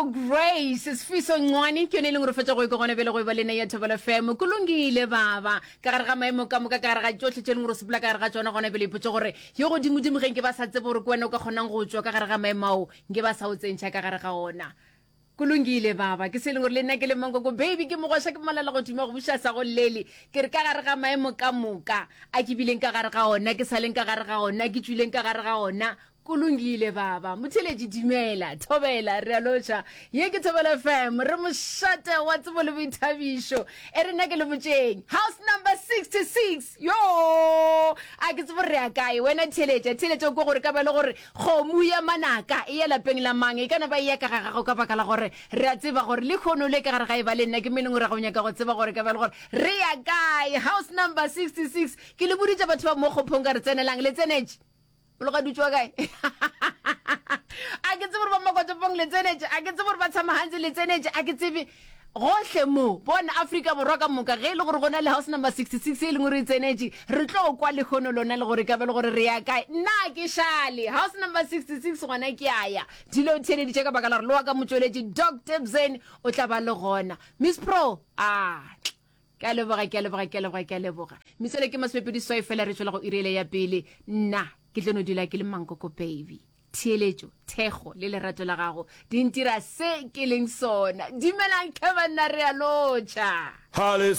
Mankoko Grace Sfiso Ncwane ke yone e leng gore fetša go ikwa gona bjale go e ba lena ya Thobela FM. Kulungile baba ka gare ga maemo ka moka ka gare ga tšohle tše e leng gore o sepela ka gare ga tšona gona bjale ipotše gore yo godimodimo ge nke ba sa tsebe gore ke wena o ka kgonang go tšwa ka gare ga maemo ao nke ba sa o tsentšha ka gare ga ona. Kulungile baba ke se e leng gore le nna ke le Mankoko baby ke mogwaša ke malala godimo go buša sa go llele ke re ka gare ga maemo ka moka a ke bileng ka gare ga ona ke sa leng ka gare ga ona ke tšwileng ka gare ga ona Kulungile baba. Motheeletši dumela, thobela, re a lotšha. Ye ke Thobela FM, re mošate wa tsebo le boithabišo. E re nna ke le botšeng. House number 66. Yo! A ke tsebo re ya kae. Wena theeletša, theeletša o kwe gore ka ba le gore kgomo ya manaka e ya lapeng la mang. E ka no ba e ya ka ga gago ka baka la gore re a tseba gore lehono le ka gare ga e ba le nna ke mo e leng gore ga o nyaka go tseba gore ka ba le gore re ya kae. House number 66. Ke le boditše batho ba mo kgophong ka re tsenelang, le tsenetše. O loga dutšwa kae? A ke tsebe gore ba Makotopong le tsenetše, a ke tsebe gore ba Tshamahantse le tsenetše, a ke tsebe gohle mo. Bona Afrika Borwa ka moka, ge e le gore go na le house number 66 e leng gore e tsenetše, re tlo kwa lehono lona le gore ka be le gore re ya kae. Nna ke šale house number 66 gona ke a ya. Dilo o theeleditše ka baka la gore le wa ka motšweletši Doc Tebsen o tla ba le gona. Miss Pro, ah. Ke a leboga, ke a leboga, ke a leboga, ke a leboga. Metswele ke masomepedi swai fela re tšwela go iri ele ya pele. Nna ke tlo no dula ke le mankoko baby. Theeletšo, thekgo le lerato la gago di ntira se ke leng sona. Dumelang tlhe banna re a lotšha. Hale.